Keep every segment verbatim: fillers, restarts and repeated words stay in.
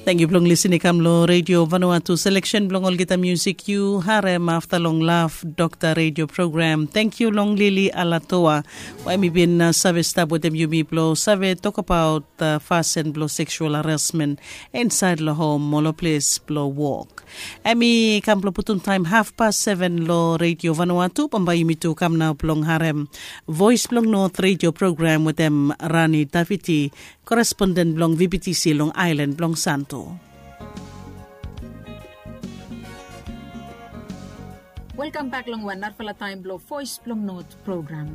Tangkiu blong lisin i kam long Redio Vanuatu. Seleksen blong olgeta musik yu harem afta long Love Dokta Redio Program. Tangkiu long Lili Alatoa we mi bin save stap wetem yumi blong save tokabaot fasin blong seksual harasmen insaed long hom o long ples blong wok. Em i kam blong putum taem hafpas seven long Redio Vanuatu. Bambae yumi tu kam nao blong harem Voes blong Not Redio Program wetem Rani Daviti, koresponden blong V B T C long aelan blong Santo. Welkam bak long wan narafala taem blong Voes blong Not Program.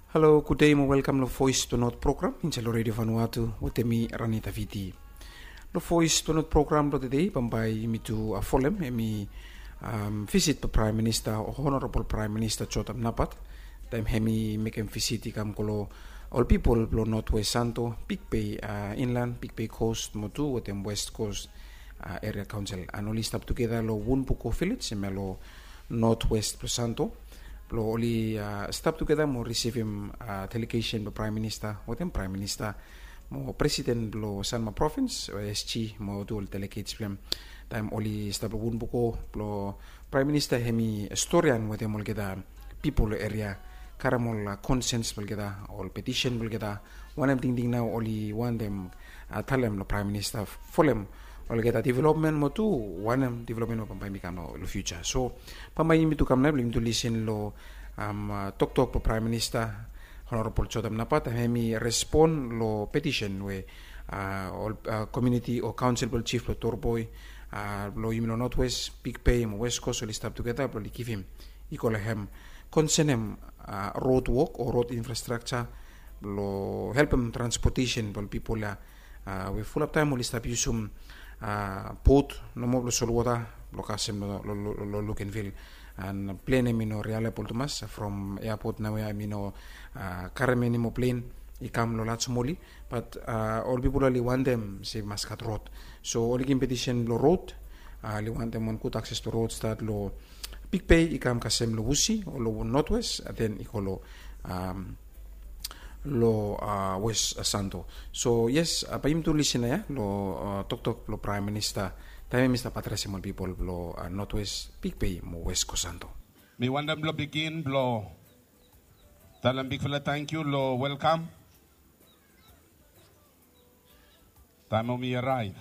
Halo, gudei mo welkam long Voes blong Not Program insaed long Redio Vanuatu wetem mi Rani Daviti. Long Voes blong Not Program blong tedei bambae yumi tu folem em i visit blong Praem Minista o Honorabol Praem Minista Jotam Napat taem hem i mekem visit i kam go long ol pipol blong Notwes Santo, Big Bay Inlan, Big Bay Kos mo tu wetem Wes Kos Eria Kaonsel. An oli stap tugeta long Wunbuko Vilej hemia long notwes blong Santo blong oli stap tugeta mo risivim delegesen blong Praem Minista wetem Praem Minista mo Presiden blong Sanma Provins o S G mo tu ol delegets blong hem. Taem oli stap long Wunbuko blong Praem Minista hem i storian wetem olgeta pipol long eria, karem ol konsens blong olgeta, ol petisen blong olgeta, wanem tingting nao oli wantem talem long Praem Minista folem olgeta developmen mo tu wanem developmen we bambae mi kam long fiuja. So bambae yumi tu kam nao blong yumi tu lisin long toktok blong Praem Minista Honorabol Jotam Napat taem hem i respon long petisen we ol komuniti o kaonsel blong jif blong Torboy blong yumi long Notwes, Big Bay mo Wes Kos oli stap tugeta blong oli givim i go long hem konsenem rod wok o rod infrastrakja blong helpem transpotesen blong ol pipol ya we fulap taem oli stap yusum bot nomo blong solwota blong kasem long Lukenvil. An plen hem i no rialebol tumas from eapot naoia hem i no karem enimo plen i kam long Lajmoli. Bat ol pipol oli wantem se i mas gat rod. So oli givim petisen blong rod, oli wantem wan gud akses blong rod stat long Big Bay i kam kasem long Usi o long Notwes, den i go long long Wes Santo. So yes, bae yumi tu lisin nao ya long toktok blong Praem Minista taem hem i stap adresem ol pipol blong Notwes, Big Bay mo Wes Kos Santo. Mi wantem blong bigin blong talem bigfala tangkiu long welkam taem we mi araev.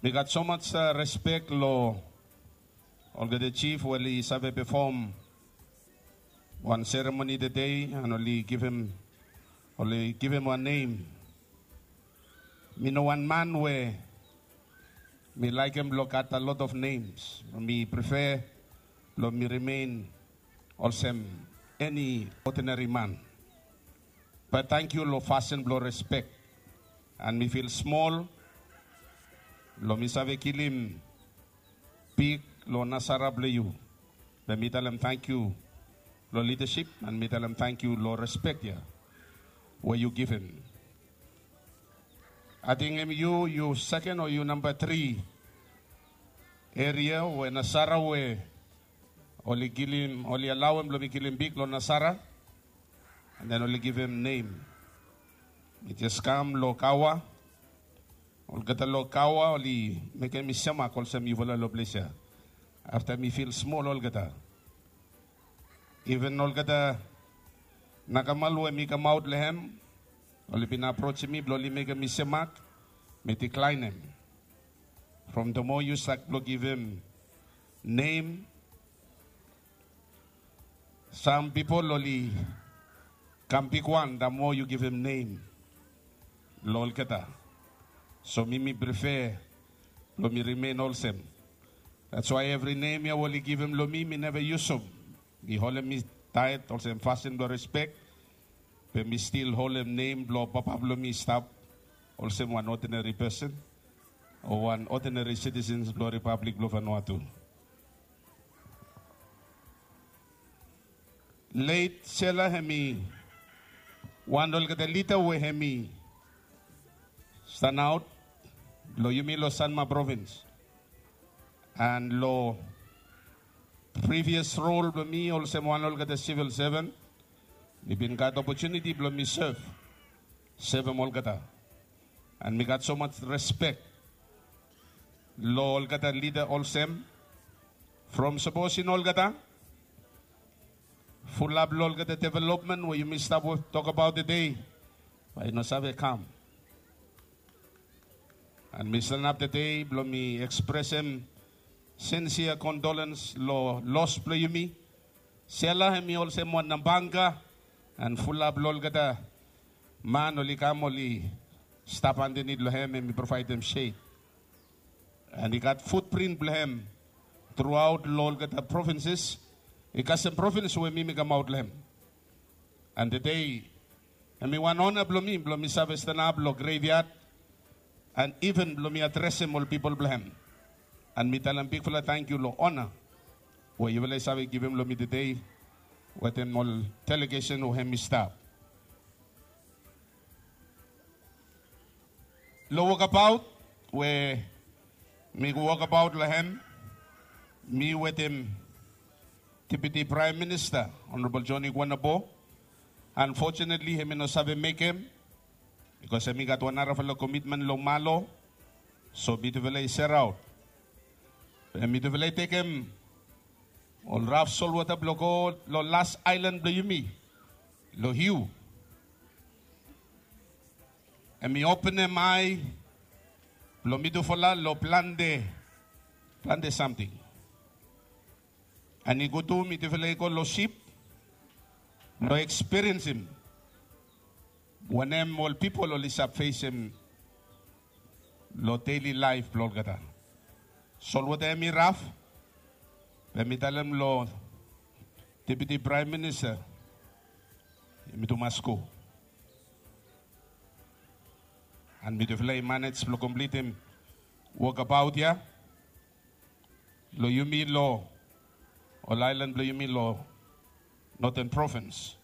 Mi gat somaj respek long olgeta jif we oli save pefom wan seremoni tedei an oli givim oli givim wan nem. Mi no wan man we mi laekem blong gat a lot of nems. Mi prefer blong mi rimen olsem eni odinari man. Bat tangkiu long fasin blong respek an mi fil smol blong mi save kilim big long nasara blong yu. Be mi talem tangkiu long lidasip an mi talem tangkiu long respek ya we yu givim. Ating hem yu yu seken o yu namba tri eria we nasara we oli kilim oli alaoem blong mi kilim big long nasara. An den oli givim nem. Mi jes kam long kaoa. Olgeta long kaoa oli mekem mi semak olsem yufala long ples ya. Afta mi fil smol olgeta. Iven olgeta nakamal we mi kamaot long hem oli bin aprosem mi blong oli mekem mi semak, mi diklaenem. From the more yu stat blong givim nem, sam pipol oli kam bigwan the more yu givim nem long olgeta. So mi mi prefer blong mi rimen olsem. That's why evri nem ya we oli givim long mi mi neva yusum. Mi holem mi taet olsem fasin blong respek. Be mi stil holem nem blong papa blong mi i stap olsem wan odinari pesen o wan odinari sitisens blong Ripablik blong Vanuatu. Let Sela hem i wan olgeta lida we hem i stanaot long yumi long Sanma provins. And lo previous role blong mi olsem wan olgeta civil servant, mi bin gat opportunity blong mi serve, servem olgeta. And mi gat so much respect lo olgeta leader olsem, from sapos i no olgeta, fulap lo olgeta development we yumi stap tokbaot tede, bae i no save kam. And mi stanap tede blong mi ekspresem sincere condolence lo loss blong yumi. Sela hemi olsem wan nabanga, and fulap lo olgeta man oli kam oli stap andanit lo hem, hemi provaedem shed. And i gat footprint blong hem throughout lo olgeta provinces. I kasem provins we mi mi kamaot lo hem. And tede hemi wan ona blong mi blong mi save stanap lo graveyard and even blong mi adresem ol pipol blong hem. And mi talem bigfala tangkiu lo ona we yufala i save givim lo mi tede wetem ol delegesen we hemi stap. Lo wokabaot we mi wokabaot lo hem, mi wetem Deputy Prime Minister Honorable Johnny Guanabo. Unfortunately hemi no save mekem bikos hemi gat wan narafala komitmen lo Malo. So mitufala i seraot. Be mitufala i tekem ol raf solwota blong go lo las aelan blong yumi, lo Hiu. Hemi openem ae blong mitufala lo plante, plante samting. And i gud tu mitufala i go lo sip blong ekspiriensim wanem ol pipol oli save fesem lo daily laef blong olgeta. Solwota hemi raf, be mi talem lo Deputy Prime Minister, yumi tu mas go. And mitufala i manej blong komplitim wokabaot ya lo yumi, lo ol aelan blong yumi lo Northern Province.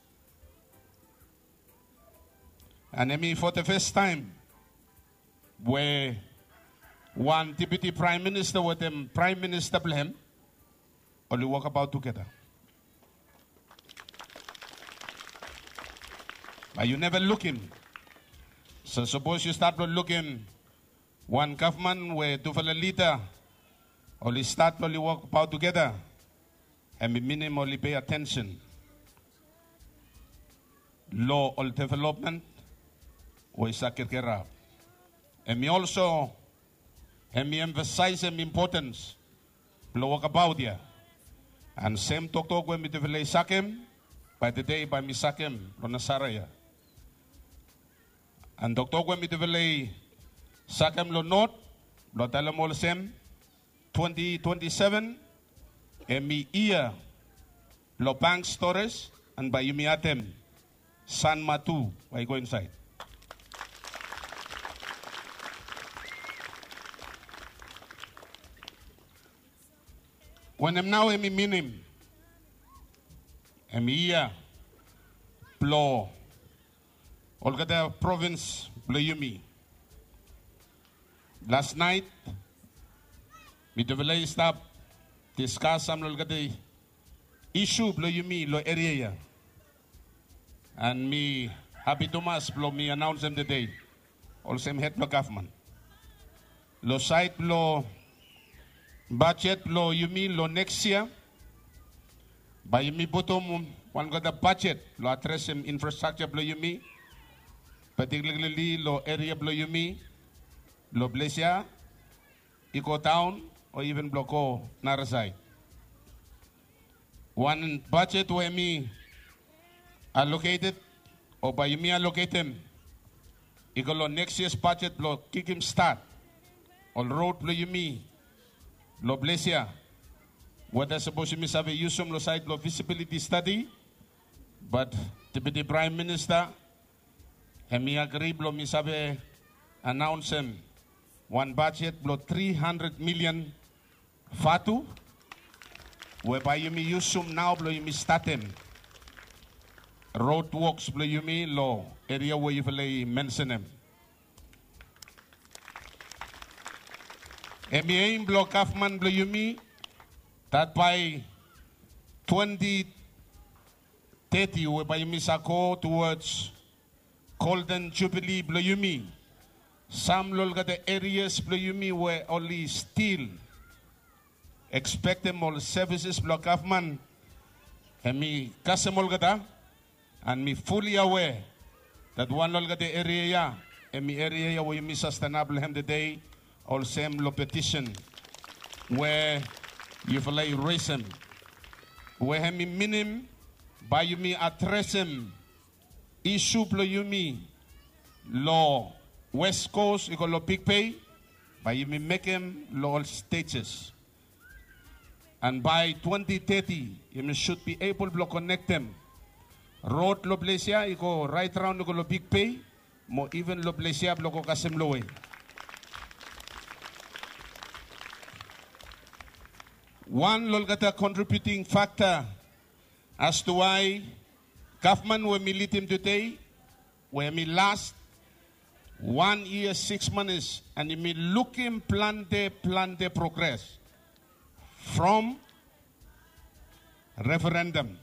And hemi for the first time we wan Deputy Prime Minister wetem Prime Minister blong hem oli wokabaot tugeta. Bae yu neva lukim. So sapos yu stat blong lukim wan gavman we tufala lida oli stat blong oli wokabaot tugeta, hemi minim oli pei atensen lo ol developmen we i save kerkerap. Hemi olso, hemi emfasaesem impotens blong wokabaot ya. And sem toktok we mitufala i sakem, bae tede bae mi sakem lo Nasara ya. And toktok we mitufala i sakem lo Not blong talem olsem, twenty twenty-seven hemi yia blong bank storage, and bae yumi atem Sanma tu bae i go insaed. Wanem nao hemi minim? Hemi yia blong olgeta provins blong yumi. Las naet mitufala i stap diskas sam lo olgeta isu blong yumi lo eria ya. And mi hapi tumas blong mi anaonsem tede olsem hed blong gavman, lo saed blong bajet blong yumi lo neks yia, bae yumi putum wan olgeta bajet blong adresem infrastrakja blong yumi, patikilarali lo eria blong yumi, lo ples ya i go daon o iven blong go narasaed. Wan bajet we hemi aloketed o bae yumi aloketem i go lo neks yia bajet blong kikim stat ol rod blong yumi lo ples ya. Weta sapos yumi save yusum lo saed blong visibiliti stadi, bat Deputi Praem Minista hemi agri blong mi save anaonsem wan bajet blong tri handred milian vatu we bae yumi yusum nao blong yumi statem rod woks blong yumi lo eria we yufala i mensenem. Hemi aim blong gavman blong yumi dat bae twenti teti we bae yumi sa go towards Golden Jubilee blong yumi. Sam long olgeta erias blong yumi we oli stil ekspektem ol sevises blong gavman, hemi kasem olgeta. And mi fully aware that wan long olgeta eria ia, hemi eria ia we yumi sastenap long hem tede, olsem long petition we yufala i resem, we hemi minim bae yumi adresem isu blong yumi long West Coast i go long Big Bay, bae yumi mekem long ol stages. And by twenty thirty, yumi should be able blong konektem rod long ples ia i go right around i go long Big Bay, mo even long ples ia blong go kasem long we. Wan long olgeta contributing factor as to why gavman we mi lidim tede, we mi last wan yia sikis manis, and yumi lukim plante, plante progres from referendum,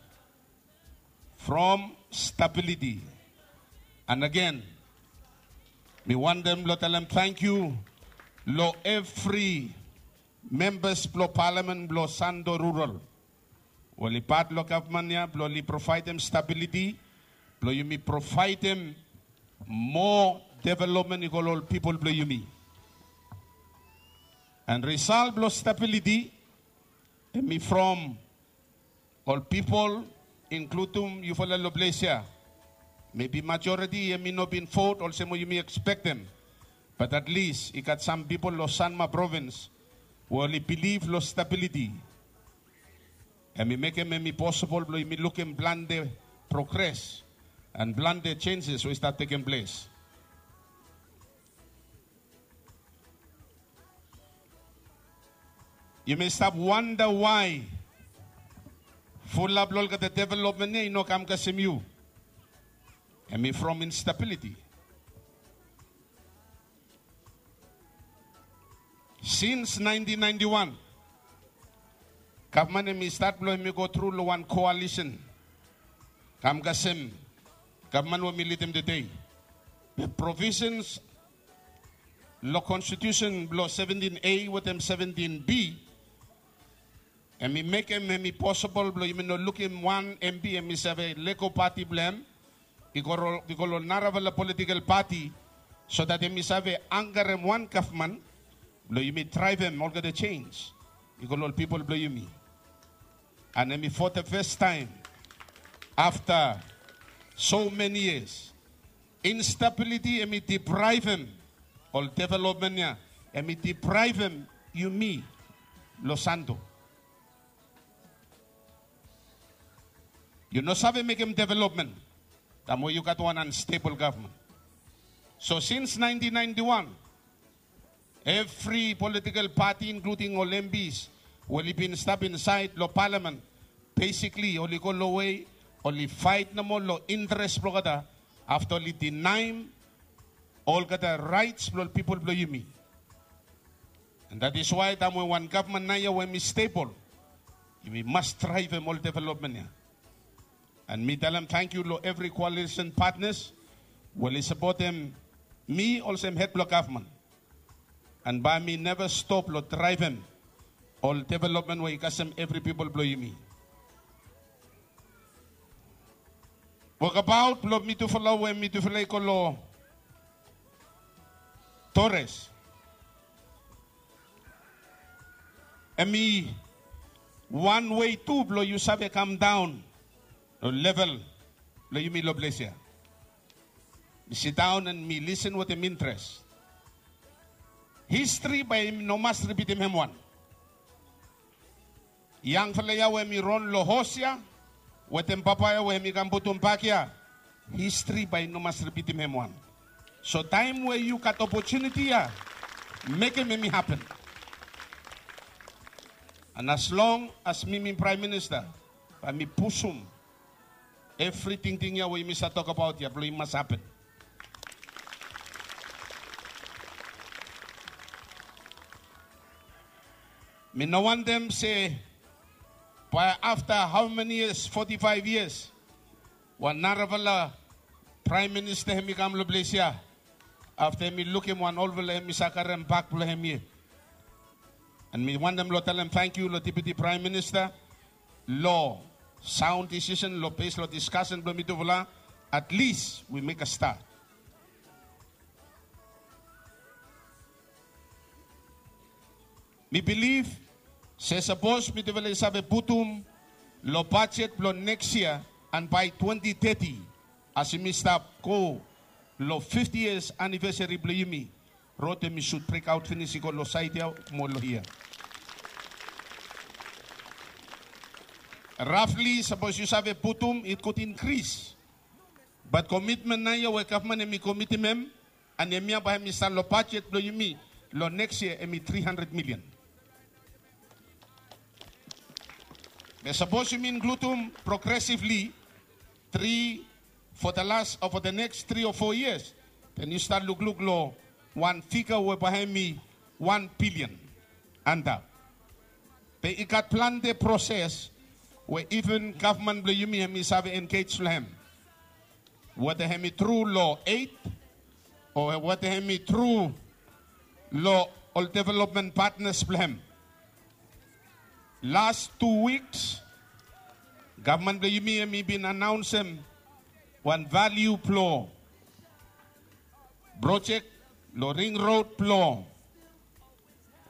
from stability. And again, mi wantem blong talem tangkiu long evri membas blong palamen blong Santo Rural we oli pat long gavman ia blong oli provaedem stabiliti blong yumi provaedem moa developmen i go long ol pipol blong yumi. And risalt blong stabiliti hemi from ol pipol, inkludum yufala long ples ia. Mebi majoriti hemi no bin vot olsem we yumi ekspektem, but at least i gat sam pipol long Sanma provins we oli bilif long stabiliti. Hemi mekem hemi posibol blong yumi lukim plante progres and plante jenjes we i stat tekem ples. Yumi stap wanda why fulap long olgeta developmen ia i no kam kasem yu. Hemi from instabiliti. Sins naentin naenti wan, gavman hemi stat blong hemi go tru long wan koalisen, kam kasem gavman we mi lidim tede. Be provisens long konstitusen blong seventin A wetem seventin B, hemi mekem hemi posibol blong yumi no lukim wan M P hemi save lego pati blong hem i go long narafala politikal pati, so dat hemi save angarem wan gavman blong yumi draevem olgeta jenj i go long ol pipol blong yumi. And hemi for the first time after so many years, instabiliti hemi depraevem ol developmen ia, hemi depraevem yumi long Santo. Yu no save mekem developmen taem we yu gat wan unstable gavman. So sins naentin naentin wan, evri politikal pati, inkluding ol M Ps we oli bin stap insaed long palamen, besikli oli go long we oli faet nomo long interes blong olgeta, afta oli dinaem olgeta raets blong ol pipol blong yumi. And that is why taem we wan gavman naoia we hemi stebol, yumi mas draevem ol developmen ia. And mi talem tangkiu long evri koalisen patnas we oli sapotem mi olsem hed blong gavman. And bae mi neva stop long draevem ol developmen we i kasem evri pipol blong yumi. Wokabaot blong mitufala we mitufala i go long Torres, hemi wan wei tu blong yu save kamdaon long level blong yumi long ples ia. Mi sidaon and mi lisen wetem interes. Histri bae i no mas ripitim hem wan. Yangfala ia we hemi ron long hos ia wetem papa ia we hemi kam putum bak ia, histri bae i no mas ripitim hem wan. So taem we yu gat opotuniti ia, mekem hemi hapen. And as long as mi mi Praem Minista, bae mi pusum evri tingting ia we yumi save tokbaot ia blong i mas hapen. Mi no wantem se bae afta hao meni yias, foti faef yias, wan narafala praem minista hemi kam long ples ya. Afta hemi lukim wan olfala hemi save karem bak blong hem yet. An mi wantem long talem tangkiu long deputi praem minista long saon disisen long bes long diskasen blong mitufala. At least we make a start. Mi bilif se sapos mitufala i save putum long bajet blong neks yia an bae twenti teti, as yumi stap go long fifti yias anivesari blong yumi, rod hemi sud brekaot finis i go long saed ya mo long hia. Rafli sapos yu save putum, it could increase. Bat komitmen naoia we gavman hemi komitim hem, an hemia bae hemi stap long bajet blong yumi long neks yia, hemi tri handred milian. Be sapos yumi inkludim progressively, tri, for the last, o for the next tri o fo yias, den yu stat lukluk long wan figa we bae hemi wan bilian antap. Be i gat plante proses we iven gavman blong yumi hemi save engej long hem. Weta hemi tru long ed o weta hemi tru long ol developmen patnas blong hem. Las tu wiks gavman blong yumi hemi bin anaonsem wan valiu blong projek long ring rod blong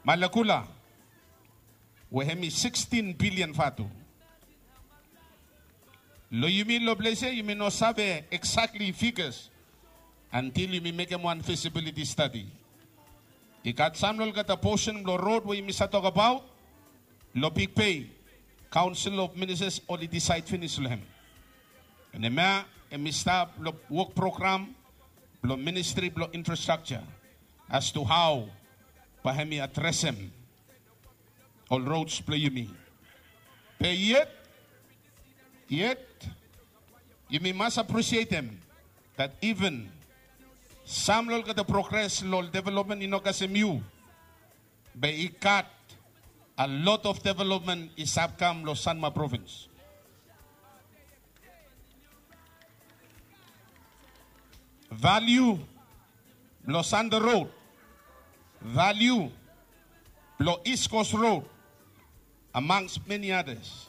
Malakula, we hemi sikstin bilian vatu. Long yumi long ples ya yumi no save eksakli figas antil yumi mekem wan fisibiliti stadi. I gat sam long olgeta posen blong rod we yumi save tokbaot long Big Bay, Kaonsel of Ministas oli disaed finis long hem. An hemia hemi stap long wok program blong Ministri blong Infrastrakja as to hao bae hemi adresem ol rods blong yumi. Be yet, yet yumi mas apresietem dat iven sam long olgeta progres long ol developmen i no kasem yu, be i gat a lot of developmen i save kam long Sanma provins. Valiu blong Sanda Rod, valiu blong East Coast Road, amongst many others.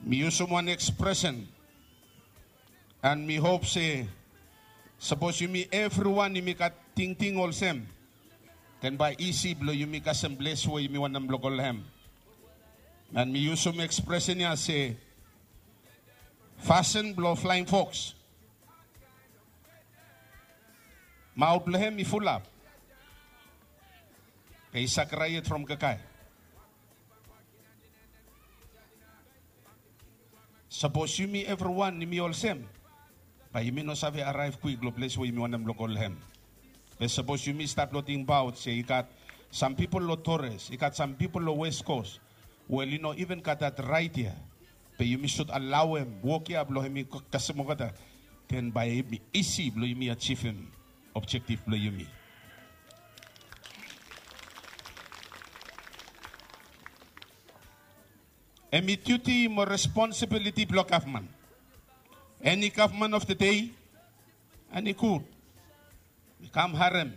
Mi yusum wan ekspresen an mi hop se sapos yumi evriwan yumi gat tingting olsem, den bae isi blong yumi kasem ples we yumi wantem blong go long hem. An mi yusum ekspresen ya se fasin blong Flaeng Foks, maot blong hem i fulap, be i save krae yet from kakae. Sapos yumi evriwan yumi olsem, bae yumi no save araev kwik long ples we yumi wantem blong go long hem. Be sapos yumi stat blong tingbaot se i gat sam pipol long Torres, i gat sam pipol long West Coast, we oli no iven gat dat raet ya, be yumi sud alaoem wok ya blong hemi kasem olgeta, den bae hemi isi blong yumi ajivim objektif blong yumi. Hemi diuti mo responsibiliti blong gavman. Eni gavman of the day, eni gud, mi kam harem.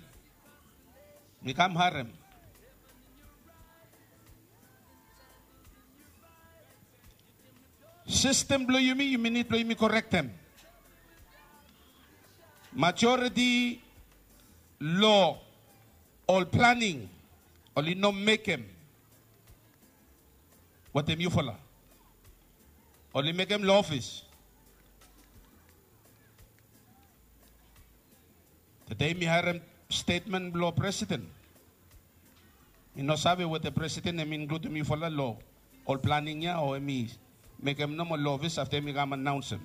Mi kam harem. Sistem blong yumi, yumi nid blong yumi korektem. Majoriti long ol planing oli no mekem wetem yufala. Oli mekem long ofis. Tede mi harem stetmen blong presiden. Mi no save weta presiden hemi inkludim yufala long ol planing ya o hemi mekem nomo long ofis afta hemi kam anaonsem.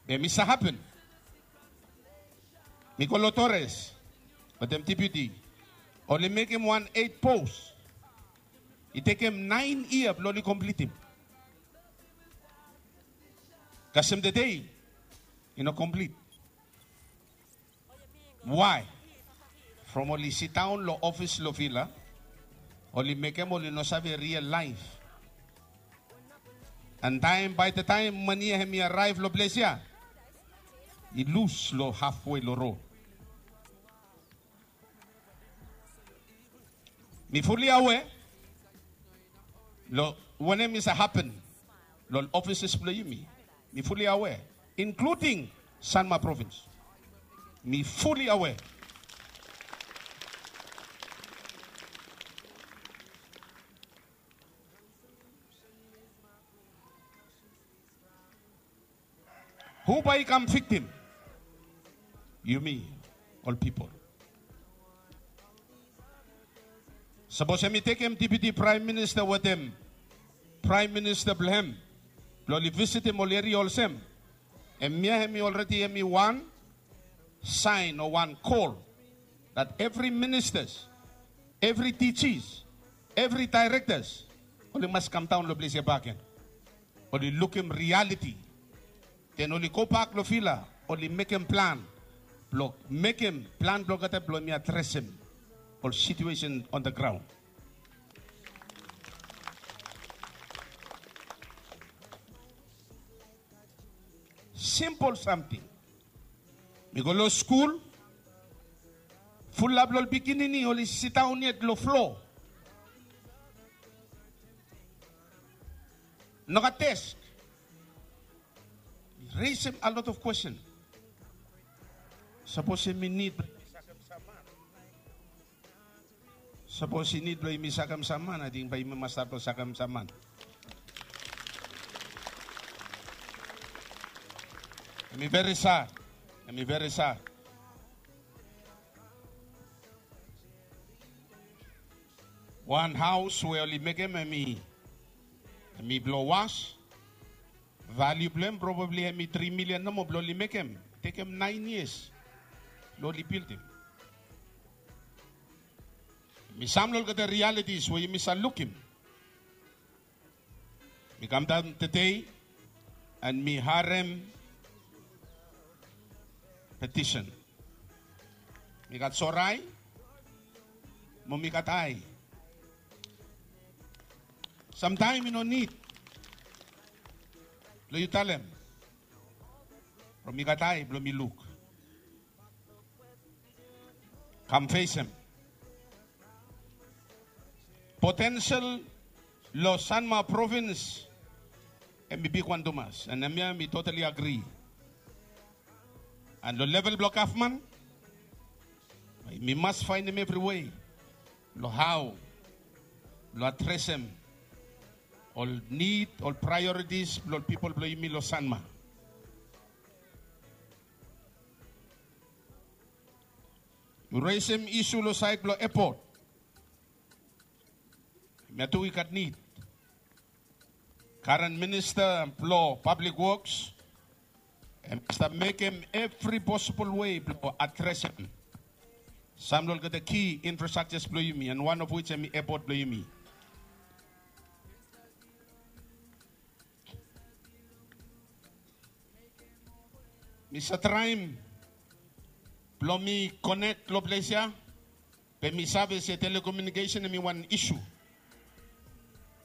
Be mi sa hapen. Mi go long Torres wetem dipiuti. Oli mekem wan eit pos. I tekem naen yia blong oli komplitim. Kasem tede i no komplit. Why? From oli sidaon long ofis long vila, oli mekem oli no save real laef. And taem, bae the taem mani ya hemi araev long ples ya, i lus long hafwe long rod. Mi fully aware long wanem i save hapen long offices blong yumi. Mi fully aware, including Sanma Province. Mi fully aware. Hu bae i kam viktim? Yumi ol pipol. Sapos hemi tekem Deputy Prime Minister wetem Prime Minister blong hem blong oli visitim ol eria olsem, hemia hemi already hemi wan sign o wan call that every ministers, every D Gs, every directors oli mas kam daon long ples ya bakegen. Oli lukim reality. Den oli gobak long vila, oli mekem plan blong mekem plan blong olgeta blong hemi adresem ol situation on the ground. Simple samting. Mi go long skul, fulap long ol pikinini oli sidaon yet long flo. Nogat desk. Raisem a lot of question. Sapos yumi nid Sapos i nid blong yumi sakem sam man, ating bae yumi mas stat blong sakem sam man. Hemi veri sad. Hemi veri sad. Wan haos we oli mekem hemi, hemi blong was. Valiu blong hem probably hemi tri milian nomo blong oli mekem. Tekem naen yias blong oli bildim. Hemi sam long olgeta realities we yumi save lukim. Mi kamdaon tede and mi harem petisen. Mi gat sore ae mo mi gat ae. Samtaem i no nid blong yu talem from mi gat ae blong mi luk. Kam fesem. Potensel long Sanma provins hemi bigwan tumas, and hemia mi totally agree. And long level blong gavman, mi mas faenem evri wei long hao blong adresem ol nid, ol priorities blong ol pipol blong yumi long Sanma. Yu resem isu long saed blong epot. Hemia tu i gat nid. Karen minista blong pablik woks hemi stap mekem evri posibol wei blong adresem sam long olgeta ki infrastruktures blong yumi, and one of which hemi epot blong yumi. Mi save traem blong mi konek long ples ya, be mi save se telekomiunikesen hemi wan isu.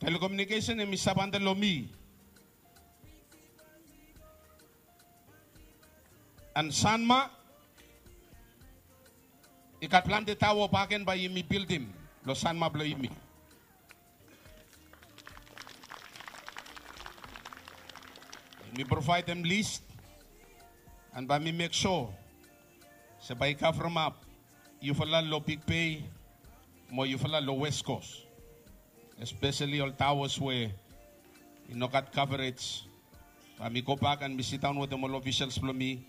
Telekomiunikesen hemi stap antap long mi. And Sanma i gat plante taoa bakegen bae yumi bildim long Sanma blong yumi. Mi provaedem lis and bae mi mek sua se bae i kavremap yufala long Big Bay mo yufala long West Coast, espeseli ol taoas we i no gat coverage. Bae mi gobak and mi sidaon wetem ol ofisals blong mi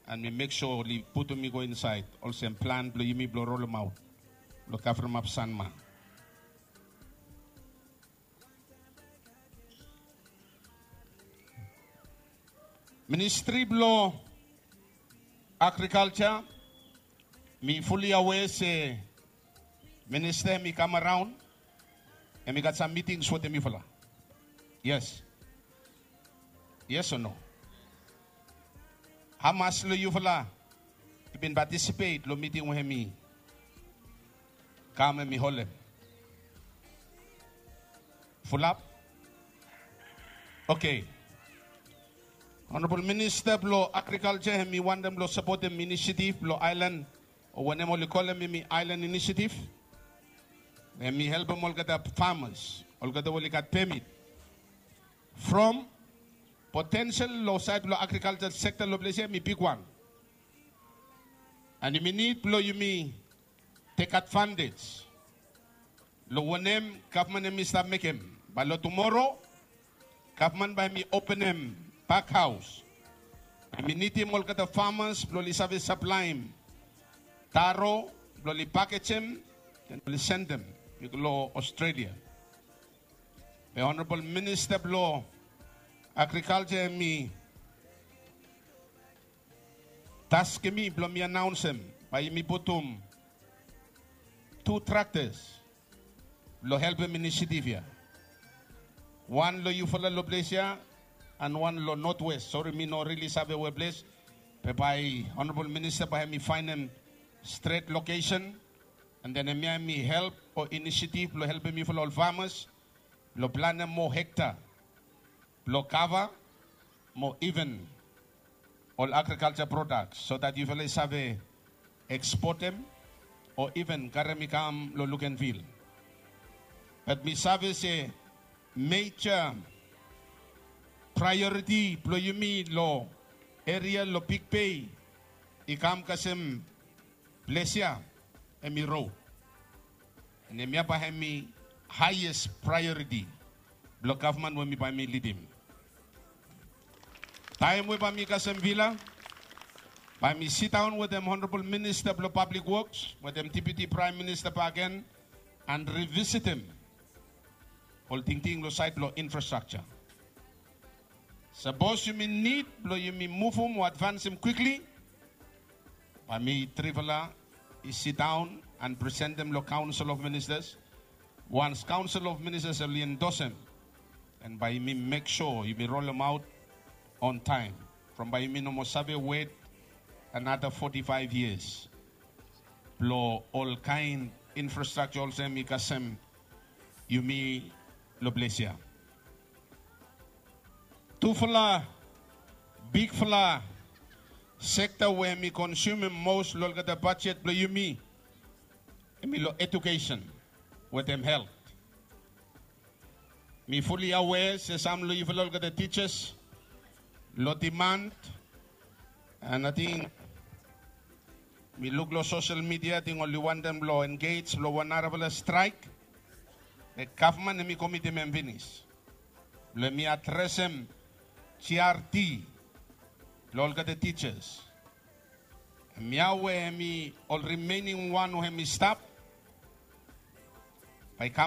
and mi mek sua oli putum i go insaed olsem plan blong yumi blong rolemaot blong kavremap Sanma. Ministri blong agrikalja, mi fully aware se minista hemi kam araon, hemi gat sam mitings wetem yufala. Yes. Yes o no? Hamas long yufala bin patisipet long miting we hemi kam hemi holem. Fulap. Oke. Honorabol Minista blong Agrikalja hemi wantem blong sapotem inisiatif blong aelan, o wanem oli kolem hemi aelan inisiatif. Hemi helpem olgeta famas, olgeta we oli gat pemit. From potensel long saed blong agrikalja sekta long ples ya hemi bigwan. An yumi nid blong yumi tek advantej long wanem gavman hemi stap mekem. Bae long tumoro gavman bae hemi openem bakhaos. Hemi nidim olgeta famas blong oli save saplaem taro blong oli pakejem, den oli sendem i go long Australia. Be Honorabol Minista blong Agrikalja hemi taskem mi blong mi anaonsem bae yumi putum tu traktas blong helpem inisiatif ya. Wan long yufala long ples ya an wan long Notwes. Sori, mi no rili save we ples. Be bae Honorabol Minista bae hemi faenem stret lokesen. An den hemia hemi help o inisiatif blong helpem yufala ol famas blong planem moa hekta blong kava mo iven ol agrikalja prodaks, so dat yufala i save ekspotem o iven karem i kam long Luganville. Bat mi save se meja praeoriti blong yumi long eria long Big Bay i kam kasem ples ya hemi rod. An hemia bae hemi haes praeoriti blong gavman we mi bae mi lidim. Taem we bae mi kasem vila, bae mi sidaon wetem Honorabol Minista blong Pablik Woks wetem Deputi Praem Minista bakegen an rivisitem ol tingting long saed blong infrastrakja. Sapos yumi nid blong yumi muvum o advansem kwikli, bae mi trifala i sidaon an presentem long Kaonsel of Ministas. Wans Kaonsel of Ministas oli endosem, an bae yumi mek sua yumi rolemaot on taem, from bae yumi no moa save wet anata foti faef yias blong ol kaen infrastrakja olsem i kasem yumi long ples ya. Tufala bigfala sekta we hemi konsumem mos long olgeta bajet blong yumi hemi long edukesen wetem helt. Mi fuli awea se sam long yufala olgeta tijas long diman, an ating mi luk long sosel midia ating oli wantem blong engej long wan narafala straek. Be gavman hemi komitim hem finis blong hemi adresem GRT long olgeta tijas. Hemia we hemi ol rimening wan we hemi stap bae i kam